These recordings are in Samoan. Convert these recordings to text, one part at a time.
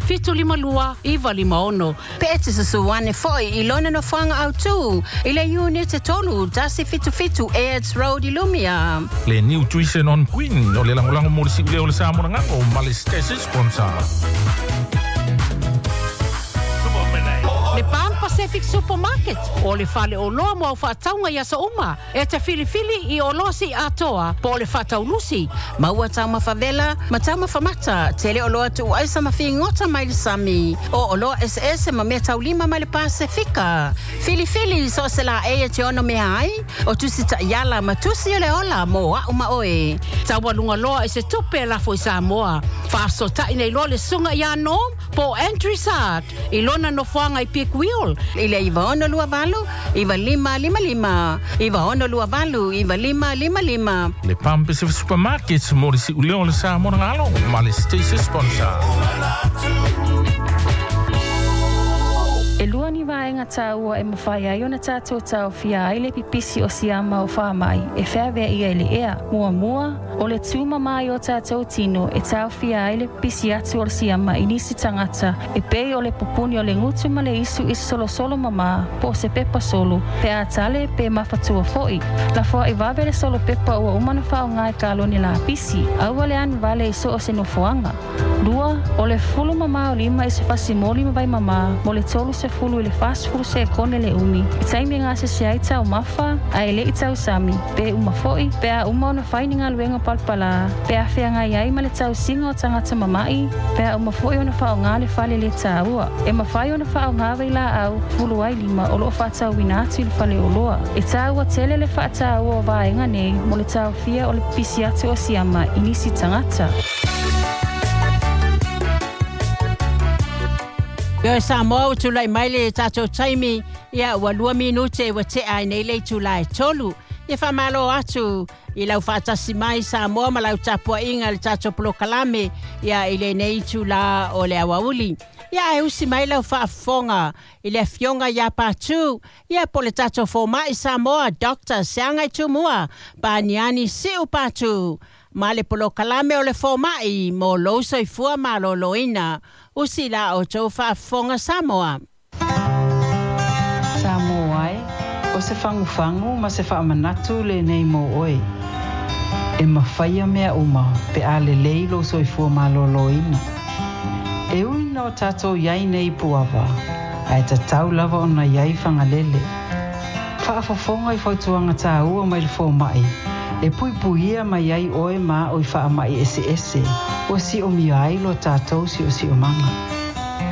752 956. Pe e te susu ane foi i lona nofoaga autū i le Iunite 3 177 Airds Road i Lumia. Le Nutrition on Queen o le lagolago mo le siuleo o le Samoa Gagalo ma le station sponsor. Le Pan Pacific Supermarket o le faleoloa mo au faatauga i aso uma e te filifili i oloa siiatoa po o le faataulusi. Maua taumafa vela ma taumafa mata, tele oloa tuuaisa ma figota mai le sami, o oloa eseese ma meataulima mai le Pasefika. Filifili so o se laei e te ono mea ai, o tusi taiala ma tusi o le ola mo a'u ma oe. Taualuga loa i se tupe e lafo i Samoa. Faafesootai nei loa le Susuga ia Norm po o Andrew Sart i lona nofoaga i Peak Wheel. I le 9628 9555, 9628 9555. Le Palm Pacific Supermarkets mo le siuleo o le Samoa Gagalo ma le station sponsor. E lua ni vaega taua e mafai ai ona tatou taofia ai le pipisi o siama o faamai e feaveaia i le ea. Muamua, o le tūmamā i o tatou tino e taofia ai le pipisi atu o le siama i nisi tagata e pei o le pupuni o le gutu ma le isu i se solosolo mamā po o se pepa solo, pe a tale pe mafatua foi. Lafoai vave le solo pepa ua uma ona faaaoga i kalone lapisi. Aua le anu vale i so o se nofoaga. Lua, o le fulu mamā o lima i se fasi moli ma vai mamā mo le 30 i le 40 sekone le umi i taimi e gasese ai taumafa ae le i tausami, pe uma foi, pe a uma ona fai ni galuega palapalā, pe a feagai ai ma le tausiga o tagata mama'i, pe a uma foi ona faaaoga le fale lē taua. E mafai ona faaaoga vailaau fulu ai lima o lo o faatauina atu i le faleoloa. E taua tele le faataua o vaega nei mo le taofia o le pipisi atu o siama i nisi tagata. Ioe Samoa ua tulai mai le tatou taimi, ia ua 2 minute ua tea ai nei le itula e 3. Ia faamalo atu i lau faatasi mai Samoa ma lau tapuaiga i le tatou polokalame ia i lenei itula o le aoauli. Ia ae usi mai lau faafofoga i le afioga ia Patu, ia po o le tatou fomai Samoa Doctor Seagai Tumua Paniani Siu Patu ma le polokalame o le fomai mo lou soifua malōlōina. Usi la outou faafofoga Samoa. Samoa e, o se fagufagu ma se faamanatu lenei mo oe. E mafaia mea uma pe a lelei lou soifua malōlōina. E ui ina o tatou i ai nei i Puava, ae tatau lava ona i ai Fagalele. Faafofoga i fautuaga taua mai le fomai e puipuia mai ai oe ma a'u i faamai eseese ua siomia ai lo tatou siosiomaga.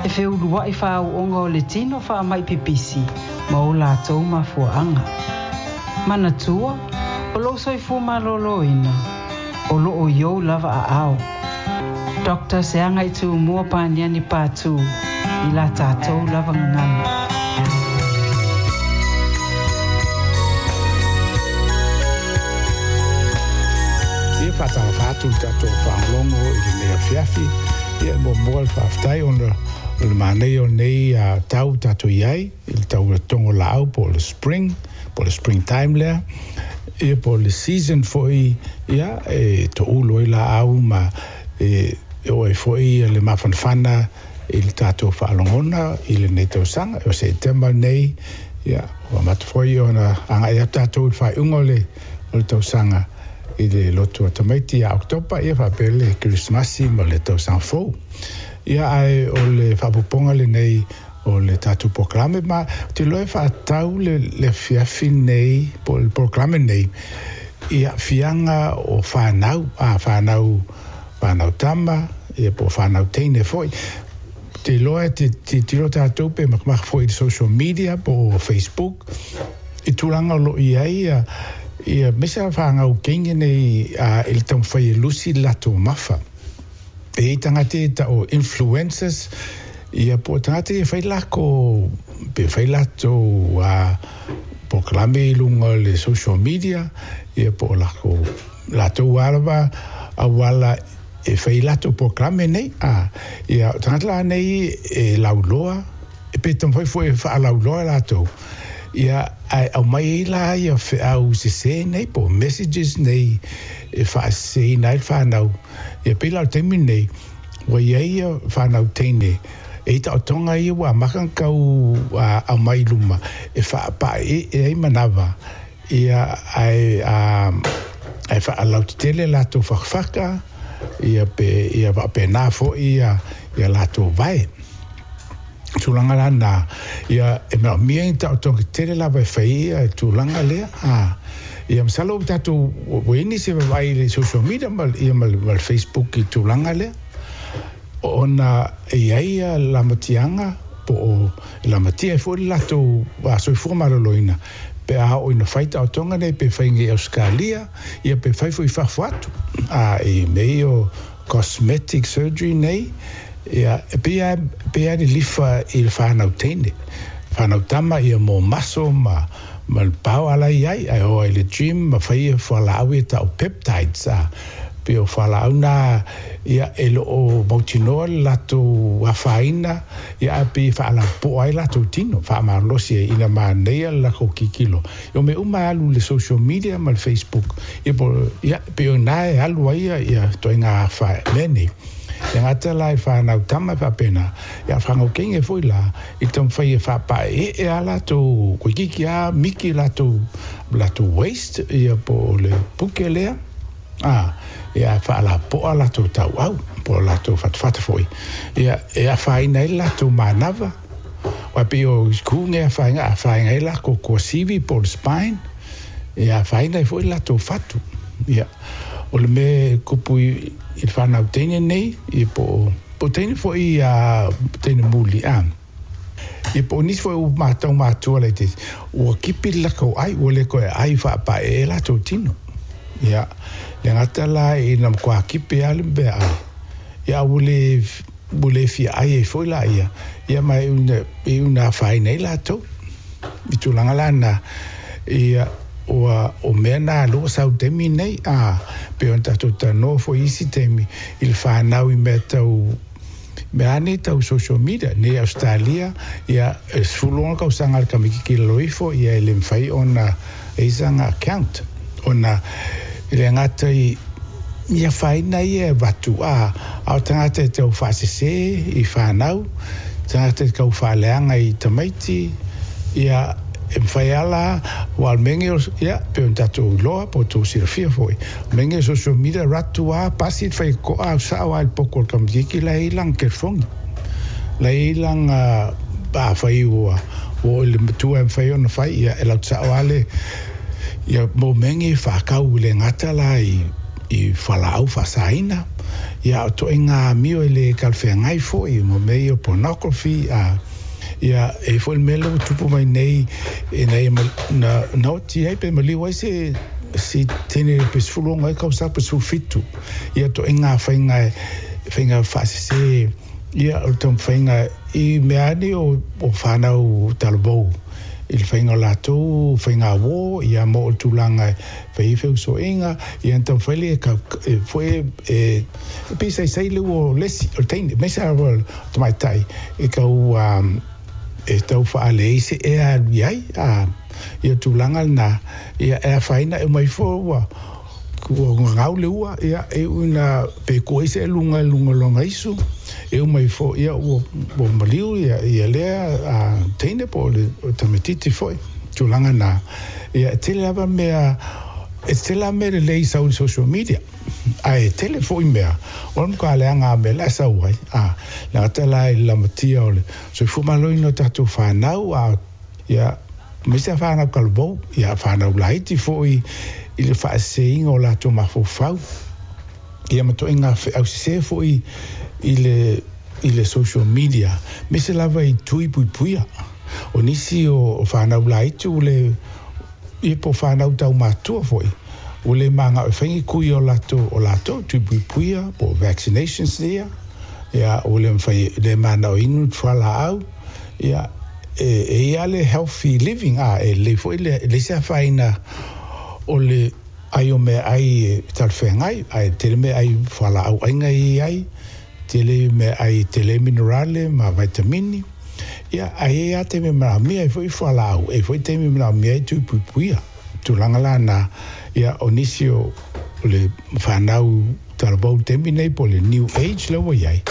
E feulua'i faau'oga o le tino faamai pipisi ma o latou mafuaaga. Manatua, o lou soifua malōlōina, o loo i ou lava aao. Doctor Seagaitūmua Paniani Patu i la tatou lava gagana. Ia faatalofa atu i le tatou faalogologo i lenei afiafi. Ia e muamua le faafetai ona o le manaia o lenei tau tatou i ai i le tau o le togo laau po o le spring, po o le spring time lea. Ia po o le season foi ia e toulu ai laau ma e oo ai foi le mafanafana i le tatou faalogona i lenei tausaga. O Setema lenei, ia, ua amata foi ona agai atu tatou i le faaiuga o le, o le tausaga i le lotu a tamaiti ia Oketopa, ia faapea le Kerisimasi ma le tausaga fou. Ia, ae o le faaopoopoga lenei o le tatou polokalame, ma ou te iloa e faatatau le, le afiafi nei, po o le polokalame nei, i aafiaga o fanau, a fanau, fanau tama, ia po o fanau teine foi. Ou te iloa e te tilotilo tatou pe makamaka foi i le social media po o Facebook, i tulaga o lo o i ai ia, ia aemaise lava fanau teine nei i le taumafai e lusi le latou mafa. E i ai tagata ia e tau o influencers, ia po o tagata ia e fai lako, pe fai latou polokalame i luga o le social media, ia po o lako, latou lava auala e fai ai latou polokalame nei, a, ia, o tagata la nei e lauloa, e pe taumafai foi e faalauloa latou, ia, ae aumai ai la ia feau sese nei po o messages nei e faaseseina ai le fanau. Ia pei la o le taimi lenei, Ua i ai ia whanau teine, e i taotoga ia ua amaka ona tau aumai i luma e faapaeee ai manava, ia ae ae faalautetele latou fakafaka, ia pe ia faapena foi ia ia latou vae. Tulaga la na, ia e manaomia ni taotoga tetele lava e fai ia tulaga lea. A ia masalo ua tatou ua i ai nisi e vaavaai i le social media ma ia ma le Facebook i tulaga lea. Ona e i ai ia lamatiaga po o e lamatia ai foi le latou soifua maloloina pe a oo ina fai taotoga nei pe fai nei i Ausetalia ia pe fai foi i fafo atu. A i mea ia o cosmetic surgery nei ia e pei lava e pei lava e lilifa i le fanau teine, fanau tama ia mo maso ma ma le power la e i ai, ae o ai i le gym ma fai ia fualaau ia tau peptides a pei o fualaau na ia e le o mautinoa le latou afaina ia ae pei e faalapopoa ai latou tino faamalolosi ai ina manaia le latou kikilo. O mea uma e alu i le social media ma le Facebook ia po ia pei o ina e alu ai ia ia ituaiga afa mea nei. E gata la i whanau tama e faapena, ia whanau teine foi la, i taumafai e faapaeee a latou toeitiiti a miki latou latou waist ia po o le puke lea, a ia faalapopoa latou tauau po o latou fatafata foi, ia e afaina ai le latou manava. Aua pei o ku nei afaina, afaina ai latou kuasivi po o le spine, ia afaina ai foi le latou fatu. Ia, o le mea e tupu i le fanau teine nei, ia po o, po o teine foi a teine muli, a, ia po o nisi foi o matou matua laitiiti, ua kipi le latou ai, ua le toe ai faapaeee latou tino. Ia, le gata la ina matua kipi lava le meaai, ia a ua le, ua le fia ai ai foi laia, ia ma e iu ina afaina ai latou. I tulaga la na, ia, ua, o mea na lea ua sau i le taimi lenei, a, pei ona tatou talanoa foi i isi taimi i le fanau i mea tau, mea lava nei tau social media, nei i Ausetalia, ia, e 16 tausaga a le tamaitiiti i lalo ifo, ia e le mafai ona e i ai sana account, ona e le gata i i afaina ia e avatu, a, a o tagata e tau faasese i fanau, tagata e tau faaleaga i tamaiti, ia, e mafai lava la, aua o le mea lenei o, ia, pei ona tatou iloa po o tou silafia foi, o le mea lenei o social media, ratu lava, pasi le faitotoa au sao lava i le poto o le tamaitiiti la e i ai lana telefoni, la e i ai lana, afai ua oo i le matua e mafai ona fai, ia, e latou sao lava le, ia, mo mea nei e faatau e le gata la i fualaau faasaina, ia a o ituaiga amio e le talafeagai foi mo mea ia o pornography, a, ia, e i ai foi le mea lea ua tupu mai nei ina ia na, na oti ai pe maliu ai se se teine pe 16 ai tausaga pe 17, ia ituaiga faiga faiga faasese, ia o le taumafaiga i mea lava nei o fanau talavou i le faiga o latou faiga uō, ia ma oo i le tulaga e fai ai feusoiga, ia ona taumafai lea e kau e foi e e pei e saisai le ua o le isi o le teine, aemaise lava o le tamaitai e tau e tau faaleai se ea e alu i ai, a ia tulaga lena, ia e afaina e uma ifo ua Ua gagau le ua, ia, e iu ina pe kua ai se ʻeluga i luga o lona isu, e uma ifo, ia, ua, ua maliu ia, ia lea a, teine po o le tamaitiiti foi, tulaga na. Ia, e tele lava mea, e tele lava mea lelei i sau i le social media, ae tele foi mea, o le matua leaga lava o mea la e sau ai, a, le gata la i le lamatia o le soifua maloloina o tatou fanau, a, Ia, aemaise a whanau talavou, ia whanau laiti foi i le faaseseina o latou mafaufau, ia ma toaiga feausese foi i le i le social media, aemaise lava i tui puipuia. O nisi o whanau laiti ua le, ia po o whanau taumatua foi, ua le manao e fai ni kui o latou, o latou tui puipuia po o vaccinations ia, ia ua le mafai, le manao e inu fualaau, Ia, e i ai le healthy living, a, e lelei foi le, e leai se afaina o le ʻai o meaʻai e talafeagai, ae tele meaʻai fualaau ʻaina e i ai, tele meaʻai tele minerale ma vaitamini, ia, ae i ai lava taimi e manaomia ai foi fualaau, e i ai foi taimi e manaomia ai tui puipuia. Tulaga la na, ia, o nisi o le fanau talavou i le taimi lenei po o le new age lea ua i ai,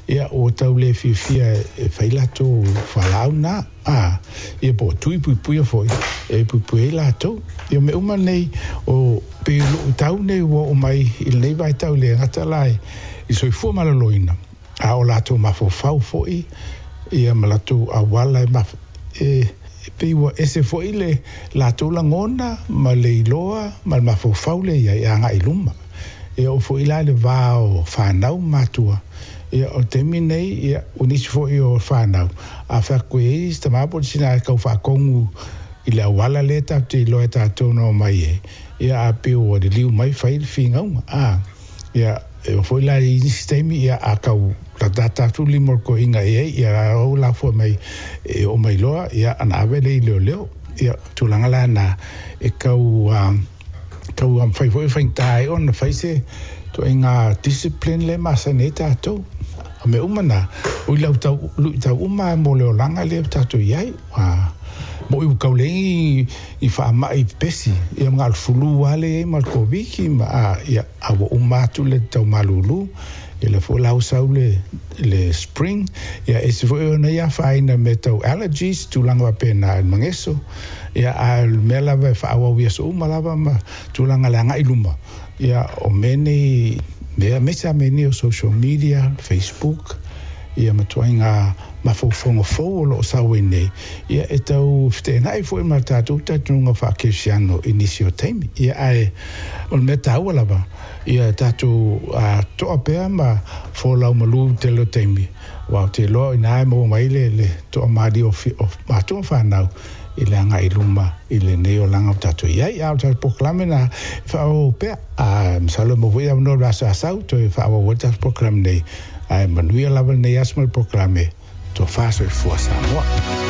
ia ua tau le fiafia e fai latou fualaau na, a, ia po o tui puipuia foi e puipui ai latou. Ia o mea uma nei, o pei o luitau nei ua oo mai i lenei vaitau e le gata la i le soifua maloloina, a o latou mafaufau foi ia ma latou auala e e pei ua ese foi le latou lagona ma le iloa ma le mafaufau lea i ai e agai i luma. E oo foi la i le va o fanau ma matua, ia o le taimi lenei, ia o nisi foi o fanau, a fai atu e i ai si tama po o le tina e tau faatonu i le auala lea tatou te iloa e tatou na omai ai, ia a pei ua liliu mai fai le finauga, a, ia e oo foi la i nisi taimi, ia a tau latalata atu le lima o le toeaina i ai, ia o la foi mai e oo mai loa, ia ona ave lea i leoleo. Ia, tulaga la na e tau tau fai foi faigata ai ona fai se ituaiga discipline lea e masani ai tatou. O mea uma na, o i lau tau, luitau uma mo le olaga lea ua tatou i ai. Ua moni ua tau leai ni faamai pepesi, ia ma na o le flu lava lea e i ai ma le Koviti ma, a, ia, a ua uma atu le tau malulu, ia lea foi la ua sau le, le spring, ia ese foi ona ia afaina i mea tau allergies, tulaga faapena i le mageso, ia a o le mea lava e faaauau i aso uma lava ma tulaga i le agai i luma, ia o mea nei, mea aemaise lava mea nei o social media, Facebook, ia ma ituaiga mafaufauga fou o lo o sau ai nei, ia e tau feteenai foi ma le tatou talitonuga faa-kerisiano i nisi o taimi. Ia ae o le mea taua lava, ia tatou toa pea ma folau malu i le tele o taimi, aua ou te iloa o i ina e maua mai ai le toamalie o matua ma fanau i le agai i luma i lenei olaga ua tatou i ai. A o le tatou polokalame lena e faaauau pea, a masalo e maua foi avanoa i le aso a sau toe faaauau ai le tatou polokalame nei. Ae manuia lava lenei aso ma le polokalame Tofa Soifua Samoa.